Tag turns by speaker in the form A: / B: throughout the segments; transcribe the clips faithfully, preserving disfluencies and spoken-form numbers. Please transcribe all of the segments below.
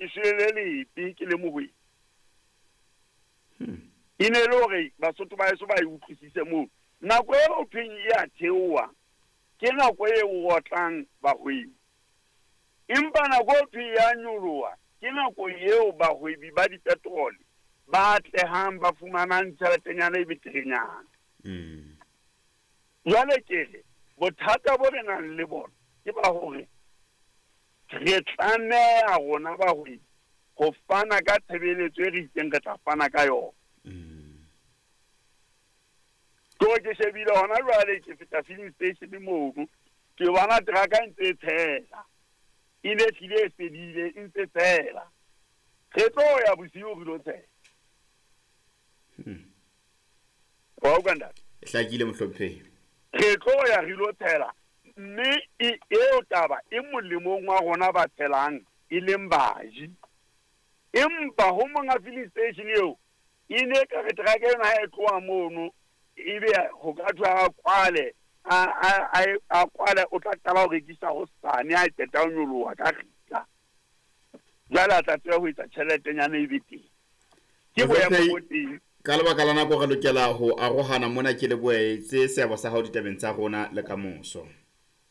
A: ke shwele le lebe ke le mohwebi. E ne le hore Basotho ba heso ba e utlwisise moo. Nako e ho thweng e a theoha ke nako e otlang bahwebi. Empa nako e thweng ya nyoloha ke nako eo bahwebi ba dipetrole ba atlehang, ba fumanang tjheletenyana e beterenyana. Jwale ke re bothata bo re nang le bona ke ba hore re tlameha rona bahwebi ho fana ka tshebeletso e re itseng re tla fana ka yona. Ke ke shebile hona jwale ke feta filling station mono, ke bona truck-a e ntse e tshela. E ne hlile e fedile, e ntse tshela. Re tlo ya bosiu re lo tshela. Wa utlwa ntate?
B: Hlakile mohlomphehi.
A: Re tlo ya re lo tshela, mme e eo taba e molemong wa rona ba tshelang e leng baji. Empa ho monga filling station eo e ne ka re truck ena ha e tloha mono ebe ho ka thwe a kwale, a a a kwale, o tla qala ho rekisa hosane ha e qeta ho nyoloha ka kgitla. Jwale a tla tseba ho etsa tjheletenyana e be teng. Ke boemo bo teng.
B: Ka lebaka la nako re lokela ho arohana mona, ke lebohetse seabo sa hao ditabeng tsa rona le kamoso.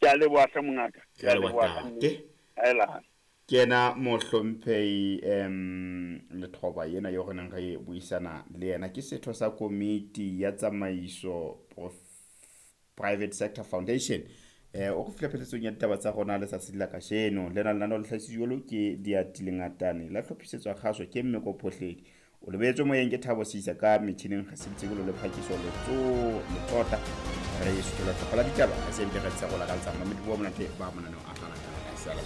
A: Ke a leboha hle mongaka.
B: Ke a leboha ntate.
A: Aela.
B: Ke yena mohlomphehi um Lethoba yena eo re neng re buisana le yena, ke setho sa komiti ya tsamaiso Private Sector Foundation. Eh o re fihla pheletsong ya ditaba tsa rona letsatsi la kajeno. Lena lenaneo le hlahisitswe jwalo ke Diati Lengatane, la hlophisetswa kgaso ke Mmeko Phohledi. O lebetswe moyeng ke Thabo Sisa, ka metjhining re sebeditse le Phakiso Letso Letsota. Re suthela hlopha la ditaba, re se re tsa go lakaltsa mamedi bo monate ba monaneo a tla latela ka sala.